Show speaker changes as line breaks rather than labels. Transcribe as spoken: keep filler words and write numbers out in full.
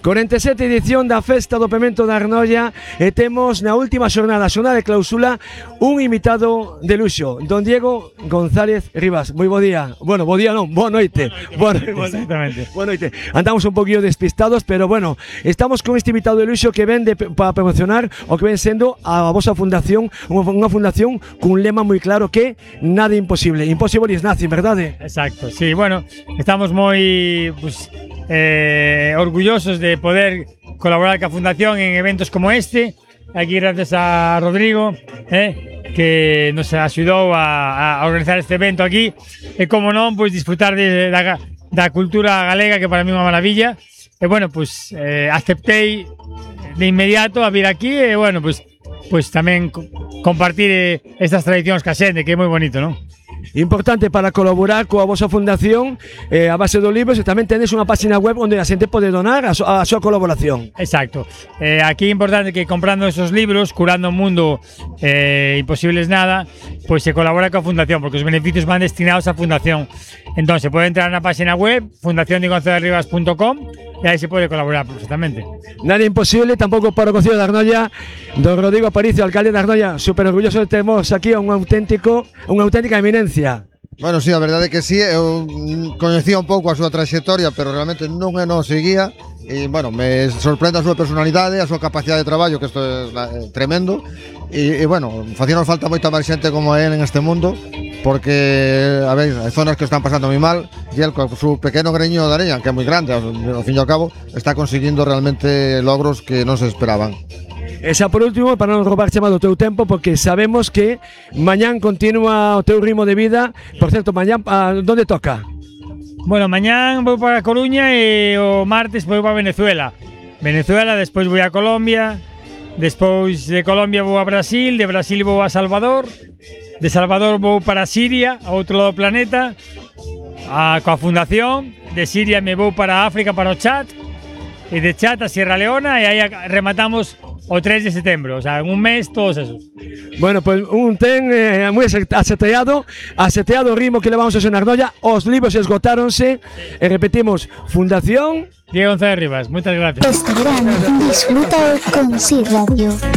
cuarenta e sete edición da Festa do Pemento da Arnolla e temos na última xornada, xornada de clausula, un invitado de luxo, don Diego González Rivas. Moi bo día. Bueno, bo día non, boa noite. Boa noite.
Exactamente.
Boa noite. Andamos un poquillo despistados, pero bueno, estamos con este invitado de luxo que ven de, para promocionar o que ven sendo a vosa fundación, unha, unha fundación cun lema moi claro que nada imposible. Impossible is nothing, verdade?
Exacto, sí, bueno, estamos moi pues, eh, orgullosos de poder colaborar ca Fundación en eventos como este. Aquí gracias a Rodrigo, eh, que nos axudou a, a organizar este evento aquí. E como non, pois disfrutar de, da, da cultura galega, que para mí é unha maravilla. E bueno, pois eh, aceptei de inmediato a vir aquí e bueno, pois, pois tamén co compartir estas tradicións ca xente, que é moi bonito, non?
Importante para colaborar coa vosa fundación eh, a base dos libros, e tamén tenéis unha página web onde a xente pode donar a, so, a súa colaboración.
Exacto. Eh, aquí é importante que comprando esos libros, Curando o Mundo, eh, Imposibles Nada, pois se colabora coa fundación, porque os beneficios van destinados á fundación. Entón, se pode entrar na página web fundación de gonzález rivas punto com e aí se pode colaborar perfectamente.
Nada imposible, tampouco para o Concello de Arnolla. Don Rodrigo Aparicio, alcalde de Arnolla, super orgulloso de termos aquí a un auténtico, unha auténtica eminencia.
Bueno, sí, a verdade é que sí, eu coñecía un pouco a súa trayectoria, pero realmente non é non seguía. E, bueno, me sorprende a súa personalidade, a súa capacidade de traballo, que isto é eh, tremendo. E, e bueno, facíanos falta moita máis xente como él en este mundo, porque, a ver, hai zonas que están pasando moi mal, e él, con su pequeno greño de areña, que é moi grande, ao, ao fin e ao cabo, está conseguindo realmente logros que non se esperaban.
E xa por último, para non roubar chamado o teu tempo, porque sabemos que mañán continúa o teu ritmo de vida. Por certo, mañán, a, onde toca?
Bueno, mañán vou para Coruña e o martes vou para Venezuela. Venezuela, despois vou a Colombia, despois de Colombia vou a Brasil, de Brasil vou a Salvador, de Salvador vou para Siria, a outro lado do planeta, a, coa fundación. De Siria me vou para África, para o Chad, e de Chad a Sierra Leona, e aí rematamos o tres de setembro, o sea, en un mes todos esos.
Bueno, pues un ten eh, moi aseteado, aseteado o ritmo que levamos a en Arnolla. Os libros esgotáronse, e repetimos, Fundación
Diego González Rivas, moitas gracias.
Este verano disfruta con Sí Radio.